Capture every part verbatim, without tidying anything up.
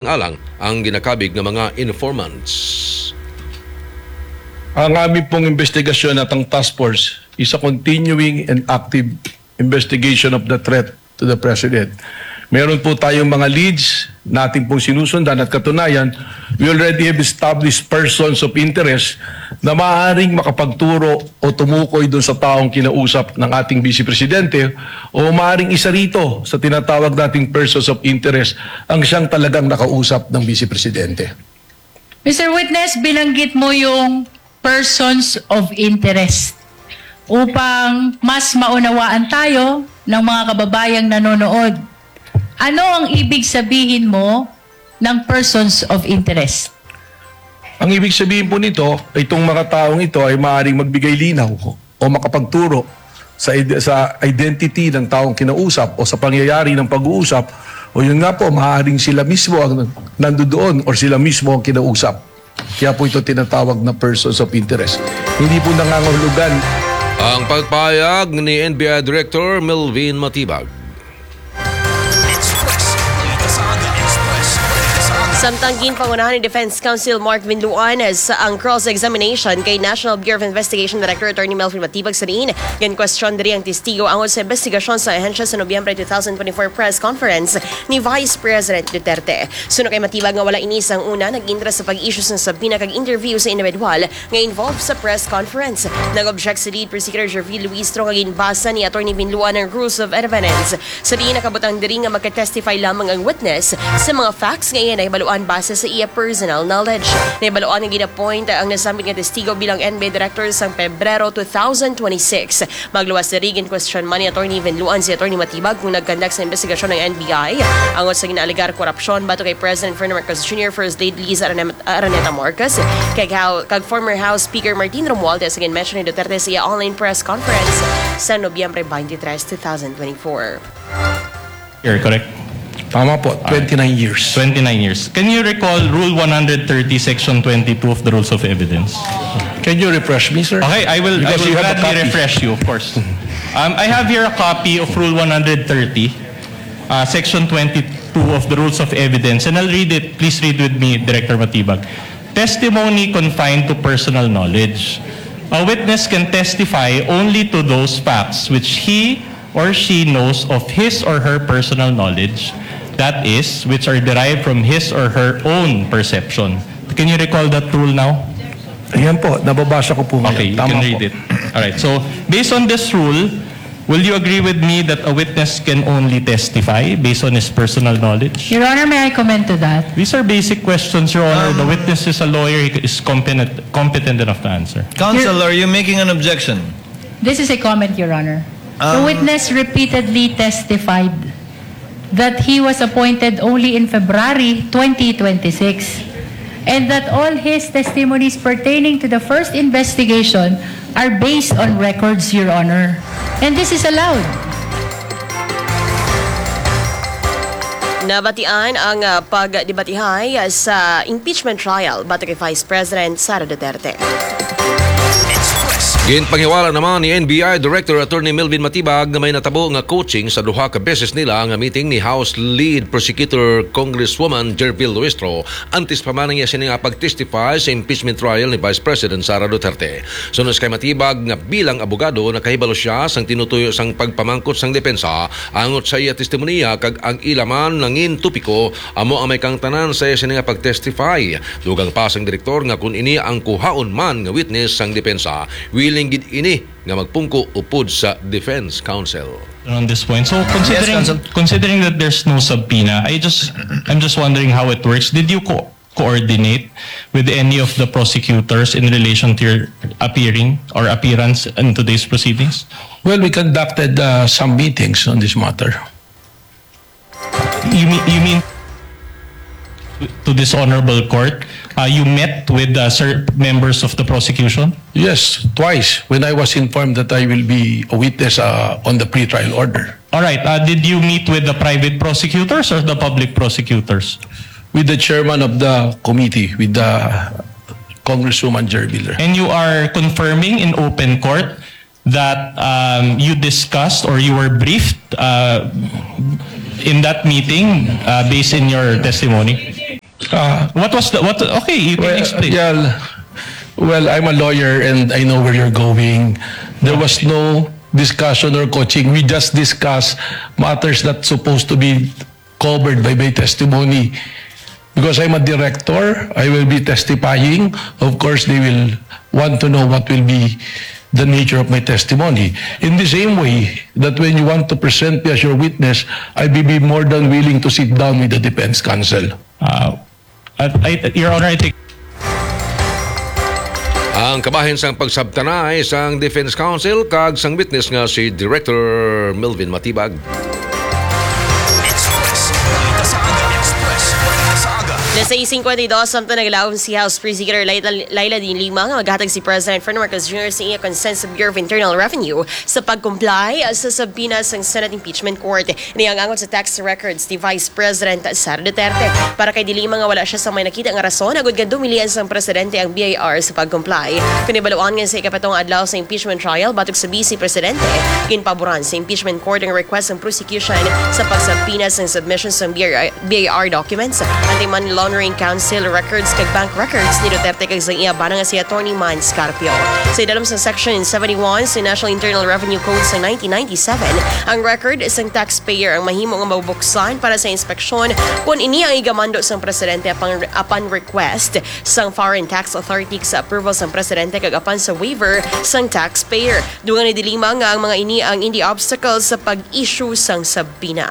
alang ang ginakabig nga mga informants. Ang aming pong investigasyon at ang task force is a continuing and active investigation of the threat to the President. Meron po tayong mga leads na ating pong sinusundan at katunayan, we already have established persons of interest na maaaring makapagturo o tumukoy doon sa taong kinausap ng ating Vice Presidente o maaaring isa rito sa tinatawag nating persons of interest ang siyang talagang nakausap ng Vice Presidente. Mister Witness, binanggit mo yung persons of interest. Upang mas maunawaan tayo ng mga kababayang nanonood, ano ang ibig sabihin mo ng persons of interest? Ang ibig sabihin po nito, itong mga taong ito ay maaaring magbigay linaw o makapagturo sa ide-, sa identity ng taong kinausap o sa pangyayari ng pag-uusap, o yun nga po, maaaring sila mismo ang nandoon or sila mismo ang kinausap. Kaya po ito tinatawag na persons of interest. Hindi po nangangahulugan. Ang pagpayag ni N B I Director Melvin Matibag. Samtang ginpangunahan ni Defense Counsel Mark Vinluan sa ang cross-examination kay National Bureau of Investigation Director Attorney Melvin Matibag sa diin, ginkwestiyon diri ang testigo angod sa investigasyon sa ahensya sa Nobyembre two thousand twenty-four press conference ni Vice President Duterte. Suno kay Matibag nga wala ini sang una nag-intra sa pag-issue sang subpoena kag interview sa individual nga involved sa press conference. Nag-object si Lead Prosecutor Jervil Luistro nga ginbasa ni Attorney Vinluan ang rules of evidence. Sa diin nakabutang diri nga magka-testify lamang ang witness sa mga facts nga iya nahibaluan base sa iya personal knowledge. Nahibaluan nga gin-appoint ang nasambit nga testigo bilang N B I director sang Pebrero two thousand twenty-six. Magluwas diri, gin-question man ni Attorney Vinluan si Attorney Matibag kung nag-conduct sa investigasyon ang N B I angod sa ginaalegar korupsyon batok kay President Ferdinand Marcos Junior, First Lady Liza Arane-, Araneta Marcos, kag, Hou-, kag former House Speaker Martin Romualdez sa gin-mention ni Duterte sa iya online press conference sa Nobyembre twenty-three, two thousand twenty-four. Year, correct? Tama po, twenty-nine years. Twenty-nine years. Can you recall Rule one hundred thirty, Section twenty-two of the Rules of Evidence? Can you refresh me, sir? Okay, I will, I Because will you have a gladly copy. refresh you, of course. Um, I have here a copy of Rule one hundred thirty, uh, Section twenty-two of the Rules of Evidence, and I'll read it. Please read with me, Director Matibag. Testimony confined to personal knowledge. A witness can testify only to those facts which he or she knows of his or her personal knowledge, that is, which are derived from his or her own perception. Can you recall that rule now? Ayan po, nababasa ko po ngayon. Okay, you Tama can read po. it. All right. So, based on this rule, will you agree with me that a witness can only testify based on his personal knowledge? Your Honor, may I comment to that? These are basic questions, Your Honor. The Um, witness is a lawyer. He is competent, competent enough to answer. Counsel, Your are you making an objection? This is a comment, Your Honor. The Um, witness repeatedly testified that he was appointed only in February twenty twenty-six, and that all his testimonies pertaining to the first investigation are based on records, Your Honor. And this is allowed. Nabatian ang, ah, pagdebatihay sa impeachment trial batok kay Vice President Sara Duterte. Ginpanghiwala naman ni N B I Director Attorney Melvin Matibag nga may natabo nga coaching sa duha ka beses nila nga meeting ni House Lead Prosecutor Congresswoman Jervil Luistro antes pa man ang iya sini nga pag-testify sa impeachment trial ni Vice President Sara Duterte. Sunos kay Matibag nga bilang abogado, nakahibalo siya sang tinutuyo sang pagpamangkot sang depensa angot sa iya testimonya kag ang ila man nangin topiko amo ang may kangtanan sa iya sini nga pag-testify. Dugang pa sang direktor nga kun ini ang kuhaon man nga witness sang depensa, willing gid ini nga magpungko upod sa defense counsel. On this point. So, considering, Yes, Counsel. considering that there's no subpoena, I just, I'm just wondering how it works. Did you co-, coordinate with any of the prosecutors in relation to your appearing or appearance in today's proceedings? Well, we conducted, uh, some meetings on this matter. You mean, you mean to this honorable court, uh, you met with, uh, sir, members of the prosecution? Yes, twice when I was informed that I will be a witness, uh, on the pretrial order. All right. Uh, did you meet with the private prosecutors or the public prosecutors? With the chairman of the committee, with the Congresswoman Jervil. And you are confirming in open court that, um, you discussed or you were briefed, uh, in that meeting, uh, based in your testimony? Uh, what was the, what, okay, you can Well, explain. yeah, well, I'm a lawyer and I know where you're going. There was no discussion or coaching. We just discuss matters that supposed to be covered by my testimony. Because I'm a director, I will be testifying. Of course, they will want to know what will be the nature of my testimony. In the same way that when you want to present me as your witness, I will be more than willing to sit down with the defense counsel. Uh, I, I, Your Honor, I think Ang kabahin sang pagsabtanay sang Defense Counsel kag sang witness nga si Director Melvin Matibag. Express. Balita sa aga. Express. Balita sa aga. Las sais cincuenta y dos, samtang naglaom si House Speaker Laila, Laila de Lima nga maghatag si President Ferdinand Marcos Junior sa iya consent sa Bureau of Internal Revenue sa pag-comply sa subpoena sang Senate Impeachment Court. Ini ang angot sa tax records ni Vice President Sara Duterte. Para kay de Lima nga wala siya sa may nakita nga rason agud nga dumilian sang presidente ang B I R sa pag-comply. Kung nabaluan nga sa ikapitong adlaw sa impeachment trial batok sa Vice Presidente, ginpaboran sa impeachment court ang request sang prosecution sa pagsubpoena sang submission sang B I R, B I R documents, anti-money laundering counsel records kag bank records ni Duterte kag sang iya bana nga si Attorney Mans Carpio. Sa idalom sang Section seventy-one sa National Internal Revenue Code sa nineteen ninety-seven, ang record sang taxpayer ang mahimo nga mabuksan para sa inspeksyon kon ini ang igamando sang presidente upon, upon request sang Foreign Tax Authority sa approval sang presidente kag apan sa waiver sang taxpayer. Dugang ni de Lima nga ang mga ini ang indi obstacles sa pag-issue sang subpoena.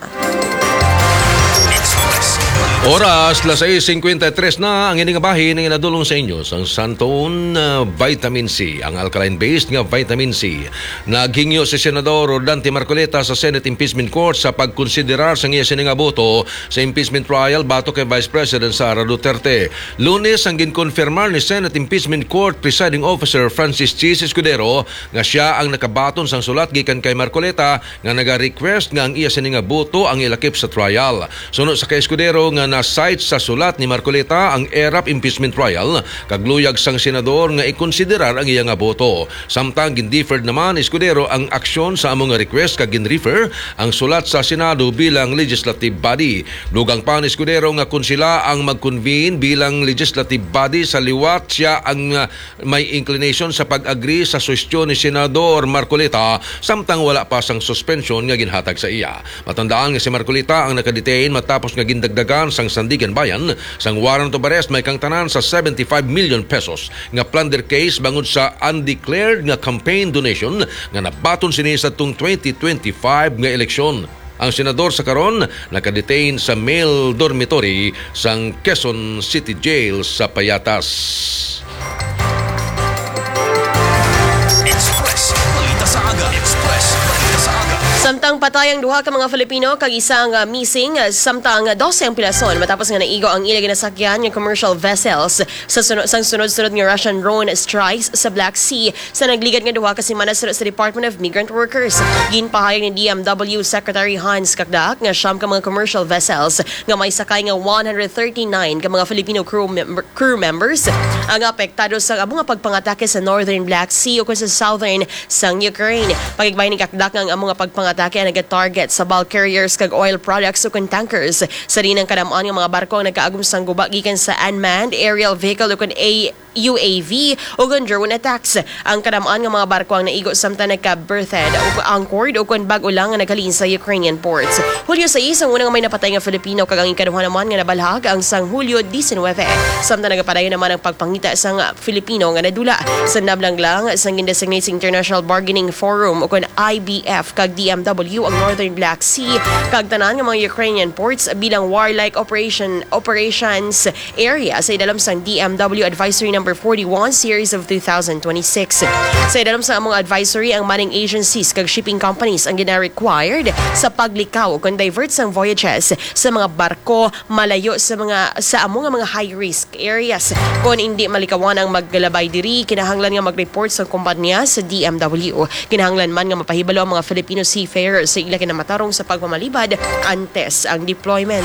Oras, las sais cincuenta y tres na. Ang ini nga bahin ang inadulong sa inyo sang Santon, uh, Vitamin C, ang alkaline-based nga vitamin C. Naghingyo si Senador Rodante Marcoleta sa Senate Impeachment Court sa pagkonsiderar sang iya sini nga boto sa impeachment trial batok kay Vice President Sara Duterte. Lunes ang ginkonfirmar ni Senate Impeachment Court Presiding Officer Francis Chis Escudero nga siya ang nakabaton sang sulat gikan kay Marcoleta nga naga-request nga ang iya sini nga boto ang ilakip sa trial. Suno sa kay Escudero nga na-cite sa sulat ni Marcoleta ang ERAP impeachment trial kag luyag sang senador nga ikonsiderar ang iya nga boto. Samtang gin-deferred naman ni Escudero ang aksyon sa amo nga request kag gin-refer ang sulat sa Senado bilang legislative body. Dugang pa ni Escudero nga kon sila ang mag-convene bilang legislative body sa liwat siya ang, ah, may inclination sa pag-agree sa suhestyon ni Senador Marcoleta samtang wala pa sang suspensyon nga ginhatag sa iya. Matandaan nga si Marcoleta ang nakadetain matapos nga gindagdagan sang Sandiganbayan sang warrant of arrest may kangtanan sa seventy-five million pesos nga plunder case bangod sa undeclared nga campaign donation nga nabaton sini sa tung twenty twenty-five nga eleksyon. Ang senador sa karon nakadetain sa male dormitory sang Quezon City Jail sa Payatas. Express. Balita sa aga. Express. Balita sa aga. Samtang patay ang duha ka mga Filipino kag isa nga missing, samtang dose ang pilason matapos nga naigo ang ila ginasakyan nga commercial vessels sa suno-, sang sunod-sunod nga Russian drone strikes sa Black Sea sa nagligad nga duha ka semana suno sa Department of Migrant Workers. Ginpahayag ni D M W Secretary Hans Cacdac nga siyam ka mga commercial vessels nga may sakay nga one hundred thirty-nine ka mga Filipino crew member, crew members ang apektado sa amo nga pagpangatake sa Northern Black Sea ukon sa Southern sang Ukraine. Pakigbahin ni Cacdac nga ang amo nga pagpangatake ang nagatarget sa bulk carriers kag oil products ukon tankers. Sa diin ang kadam-an nga mga barko ang nagaagom sang guba gikan sa unmanned aerial vehicle ukon A U A V ukon drone attacks. Ang kadam-an nga mga barko ang naigo samtang nagka-berthed o anchored ukon bag-o lang nga naghalin sa Ukrainian ports. Hulyo sais ang una nga may napatay nga Filipino kag ang ikaduha naman nga nabalhag ang sang Hulyo diecinuebe. Samtang nagapadayon naman ang pagpangita sang Filipino nga nadula. Sa nablang lang sang gindesignate sa International Bargaining Forum ukon I B F kag D M W ang Northern Black Sea kag tanan nga mga Ukrainian ports bilang warlike operation operations area sa idalom sang D M W Advisory Number forty-one Series of two thousand twenty-six. Sa idalom sang among advisory, ang manning agencies kag shipping companies ang gina-required sa paglikaw kon divert sang voyages sa mga barko malayo sa mga, sa amo nga mga high risk areas. Kon indi malikawan ang maglabay diri, kinahanglan nga mag-report sa kompanya sa D M W. Kinahanglan man nga mapahibalo ang mga Filipino seafarers sa ila kinamatarong sa pagpamalibad antes ang deployment.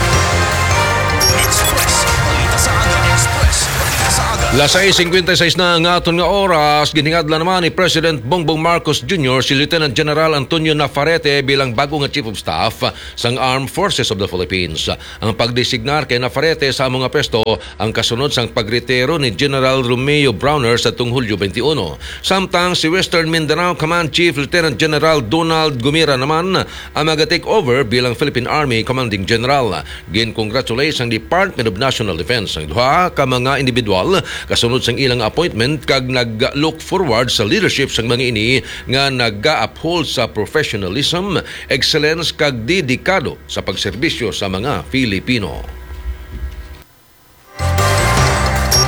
Express. Balita sa aga. Express. Balita sa aga. Las sais cincuenta y seis na ang aton nga oras. Ginhingadlan naman ni President Bongbong Marcos Junior si Lieutenant General Antonio Nafarete bilang bago nga Chief of Staff sang Armed Forces of the Philippines. Ang pagdesignar kay Nafarete sa amo nga pwesto ang kasunod sang pagretiro ni General Romeo Brawner sa tong Hulyo twenty-one. Samtang si Western Mindanao Command Chief Lieutenant General Donald Gumira naman ang maga-take over bilang Philippine Army Commanding General. Gin-congratulate sang Department of National Defense ang duha ka mga individual kasunod sang ilang appointment kag nag-look forward sa leadership sang mga ini nga naga-uphold sa professionalism, excellence kag dedikado sa pagserbisyo sa mga Filipino.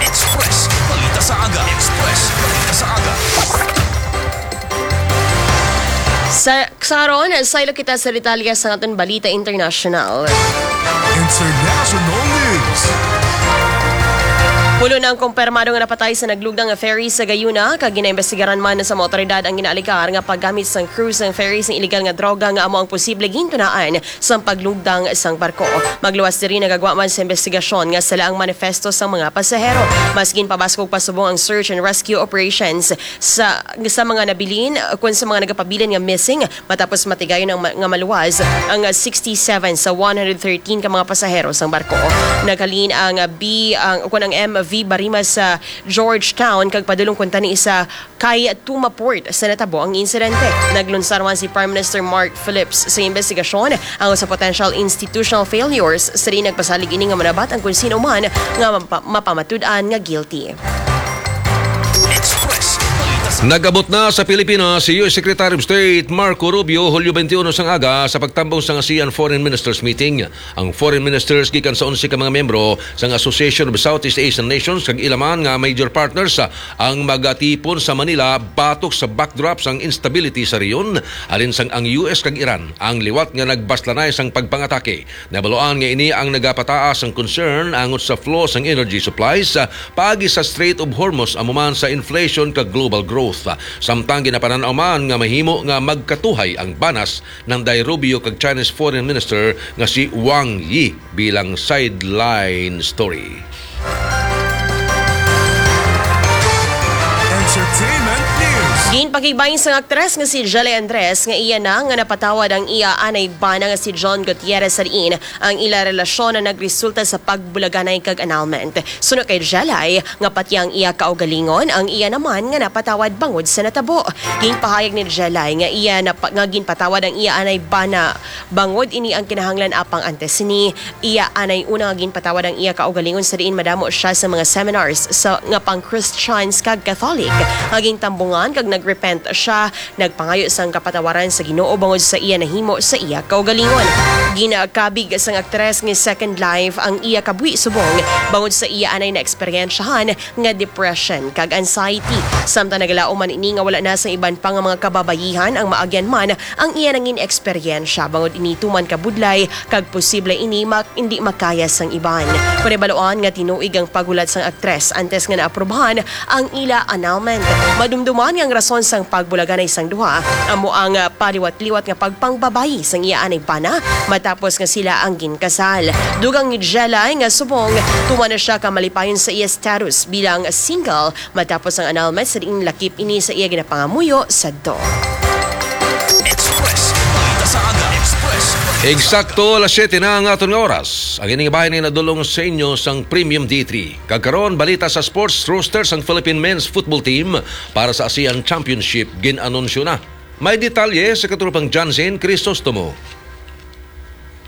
Express Balita sa Aga. Express Balita sa Aga. Sa, sa karon, saylo kita sa detalye sa aton balita international. International News. Pulo na ang kumpirmado nga napatay sa naglugdang nga ferry sa Gayuna, kag ginaimbestigaran man sa mga awtoridad ang ginaalegar nga paggamit sang crew sang ferry sang iligal nga droga nga amo ang posible gintunaan sang paglugdang sang barko. Magluwas diri, nagagwa man sa imbestigasyon nga sala ang manifesto sang mga pasahero. Mas ginpabaskog pa subong ang search and rescue operations sa, sa mga nabilin, kun sa mga nagapabilin nga missing, matapos matigayon ang ma-, nga maluwas ang sixty-seven sa one hundred thirteen ka mga pasahero sang barko. Naghalin ang, ah, B, ang, kun ang M V Barima sa Georgetown kag padulong kuntani sa kay Tuma Port sa natabo ang insidente. Naglunsar man si Prime Minister Mark Phillips sa imbestigasyon ang sa potential institutional failures. Sa diin nagpasalig ini nga manabat ang kung sino man nga mapa-, mapamatud-an nga guilty. Nag-abot na sa Pilipinas si U S Secretary of State Marco Rubio, Hulyo twenty-one sang aga, sa pagtambong sang ASEAN Foreign Ministers Meeting. Ang foreign ministers gikan sa onse ka mga miyembro sang Association of Southeast Asian Nations kag ila man nga major partners ang magatipon sa Manila batok sa backdrop sang instability sa rehiyon, halin sang ang U S kag Iran ang liwat nga nagbaslanay sang pagpangatake. Nabaluan nga ini ang nagapataas sang concern angot sa flow sang energy supplies, ah, paagi sa Strait of Hormuz, amo man sa inflation kag global growth. Samtang ginapanan-aw man nga mahimo nga magkatuhay ang banas Nanday Rubio kag Chinese Foreign Minister nga si Wang Yi bilang sideline story. Entertainment News. Ginpakigbay sang aktres nga si Jelay Andres nga iya na nga napatawad ang iya anay bana nga si John Gutierrez sa diin ang ila relasyon na nagresulta sa pagbulaganay kag annulment. Suno kay Jelay, nga pati ang iya kaugalingon, ang iya naman nga napatawad bangod sa natabo. Ginpahayag ni Jelay nga iya napa-, nga ginpatawad ang iya anay bana bangod ini ang kinahanglan, apang antes sini, iya anay una nga ginpatawad ang iya kaugalingon sa diin madamo siya sa mga seminars sa, nga pang-Christians kag Catholic. Nga gintambungan kag nagrepent siya, nagpangayo sang kapatawaran sa Ginoo bangod sa iya nahimo sa iya kaugalingon. Ginakabig sang aktres nga Second Life ang iya kabuhi subong bangod sa iya anay naeksperyensyahan nga depression kag anxiety. Samtang nagalaom man ini nga wala na sa iban pa nga mga kababayihan ang maagyan man ang iya nangin eksperyensya, bangod ini tuman kabudlay kag posible ini mak-, hindi makaya sang iban. Panibaloan nga tinuig ang paghulat sang aktres antes nga naaprubahan ang ila annulment. Madumduman nga ang rason sang pagbulaganay sang duha amo ang, ah, paliwat-liwat nga pagpangbabayi sang iya anay bana matapos nga sila ang ginkasal. Dugang ni Jelay nga subong tuman na siya ka malipayon sa iya status bilang single matapos ang annulment sa diin lakip ini sa iya ginapangamuyo sadto. Express. Balita sa Aga. Express. Eksakto alas siyete na ang aton nga oras. Ang ining bahin ay nadulong sa inyo sang Premium D three. Kag karon, balita sa sports. Roster sang Philippine Men's Football Team para sa ASEAN Championship gin-anunsyo na. May detalye sa katropang Johnson Crisostomo.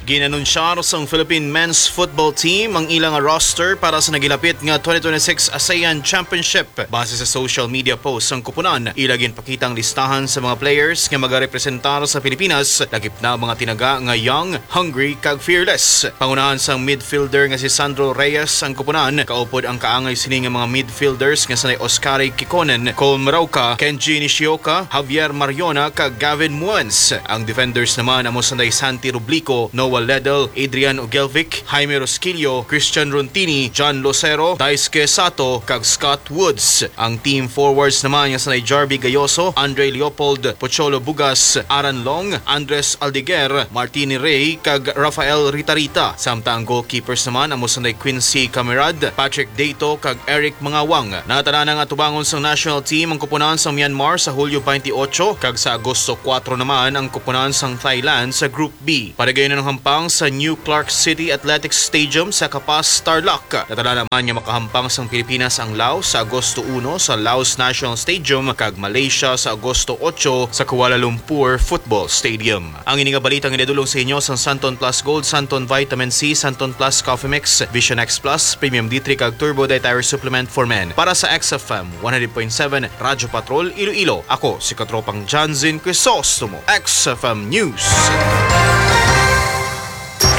Ginanunsyar sang Philippine Men's Football Team ang ila nga roster para sa nagilapit nga twenty twenty-six ASEAN Championship. Base sa social media post sang kupunan, ila ginpakita ang listahan sa mga players nga magarepresentar sa Pilipinas, lakip na ang mga tinaga nga young, hungry, kag fearless. Pangunahan sang midfielder nga si Sandro Reyes ang kupunan, kaupod ang kaangay sini nga mga midfielders nga sanday Oscari Kikonen, Cole Marauca, Kenji Nishioka, Javier Mariona, kag Gavin Muans. Ang defenders naman amo sanday Santi Rublico, Noah Ledel, Adrian Ugelvic, Jaime Rosquillo, Christian Runtini, John Lucero, Daisuke Sato, kag Scott Woods. Ang team forwards naman nga sanay Jarvie Gayoso, Andre Leopold, Pocholo Bugas, Aran Long, Andres Aldeguer, Martini Rey, kag Rafael Ritarita. Samtang ang goalkeepers naman amo sanay Quincy Camerad, Patrick Deito, kag Eric Mangawang. Natanan nga atubangon sang national team ang kupunan sang Myanmar sa Hulyo twenty-eight, kag sa Agosto kuwatro naman ang kupunan sang Thailand sa Group B. Padayon ang hampang sa New Clark City Athletics Stadium sa Capas, Tarlac. Natanan naman nga makahampang sang Pilipinas ang Laos sa Agosto uno sa Laos National Stadium kag Malaysia sa Agosto otso sa Kuala Lumpur Football Stadium. Ang ini nga balita ang ginadulong sa inyo sang Santon Plus Gold, Santon Vitamin C, Santon Plus Coffee Mix, Vision X Plus, Premium D three kag Turbo Dietary Supplement for Men. Para sa X F M one hundred point seven Radyo Patrol Iloilo, ako si Katropang Janzin Crisostomo, X F M News.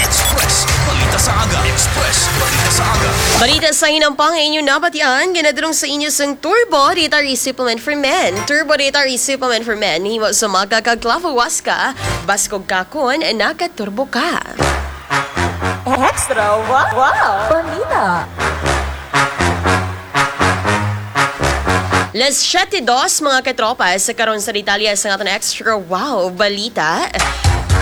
Express Balita sa Aga. Express Balita sa Aga. Balita sa hinampang nga inyo nabatian, ginadulong sa inyo sang Turbo Dietary Supplement for Men. Turbo Dietary Supplement for Men, himo sa maga kag clavo huasca, baskog kakon, nakaturbo ka. Extra wow, wow. Balita. Las siete dos, mga katropa, sa karon sa detalye sa aton extra wow balita.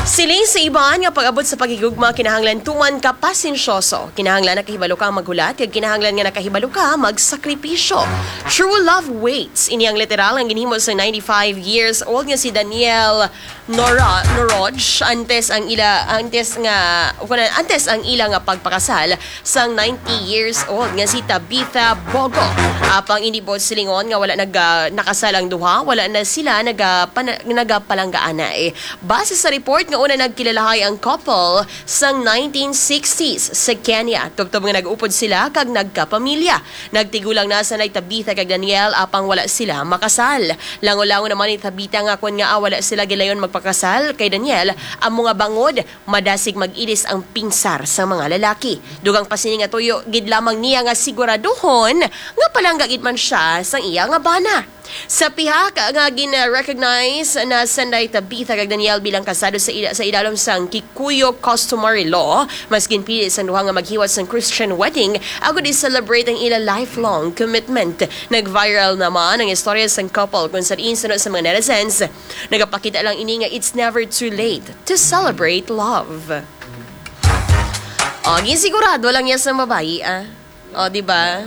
Siling sa iban nga pag-abot sa paghigugma, kinahanglan tuman ka pasensyoso. Kinahanglan nakahibalo ka maghulat, kag kinahanglan nga nakahibalo ka magsakripisyo. True love waits. Ini ang literal ang ginhimo sa ninety-five years old nga si Daniel Nora Noroj. Antes ang ila, antes nga, kuwan, antes ang ila nga pagpakasal, sang ninety years old nga si Tabitha Bogo. Apang ini buot silingon nga wala nag-, ah, nakasal ang duha, wala na sila nagapana-, nagapalanggaanay. Base sa report nga una nagkilalahay ang couple sang nineteen sixties sa Kenya, tubtob nga nag-upod sila kag nagkapamilya. Nagtigulang na sanay Tabitha kag Daniel, apang wala sila makasal. Langon-langon naman ni Tabitha nga kon ngaa wala sila gilayon magpakasal kay Daniel, amo nga bangod madasig mag-ilis ang pinsar sa mga lalaki. Dugang pa sini nga tuyo gid lamang niya nga siguraduhon nga palangga gid man siya sang iya nga bana. Sa pihak nga gin-recognize na sanday Tabitha kag Daniel bilang kasado sa ila-, sa idalom sang Kikuyu customary law, mas ginpili sang duha nga maghiwat sang Christian wedding agud i-celebrate ang ila lifelong commitment. Nag-viral naman ang istorya sang couple kung sa diin suno sa mga netizens, nagapakita lang ini nga it's never too late to celebrate love. O, ginsigurado lang niya sa babayi, ah. O, di ba?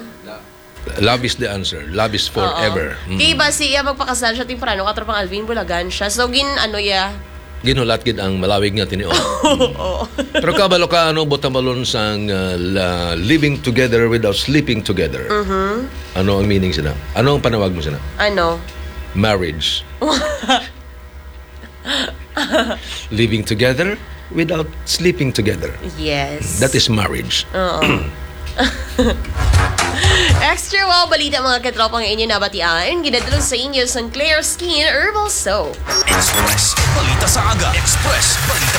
Love is the answer. Love is forever. Oo. Mm. Kay basi iya magpakasal siya temprano, katropang Alvin, bulagan siya. So, gin-, ano, iya? Ginhulat gid ang malawig nga tinion. Oo. Pero kabalo ka, ano, buot hambalon sang, uh, la-, living together without sleeping together? Mhm. Ano ang meaning sina? Ano ang panawag mo sina? Ano? Marriage. Living together without sleeping together. Yes. That is marriage. Oo. Extra wow balita, mga katropa, nga inyo nabatian. Ginadulong sa inyo sang Clear Skin Herbal Soap. Express Balita sa Aga. Express Balita sa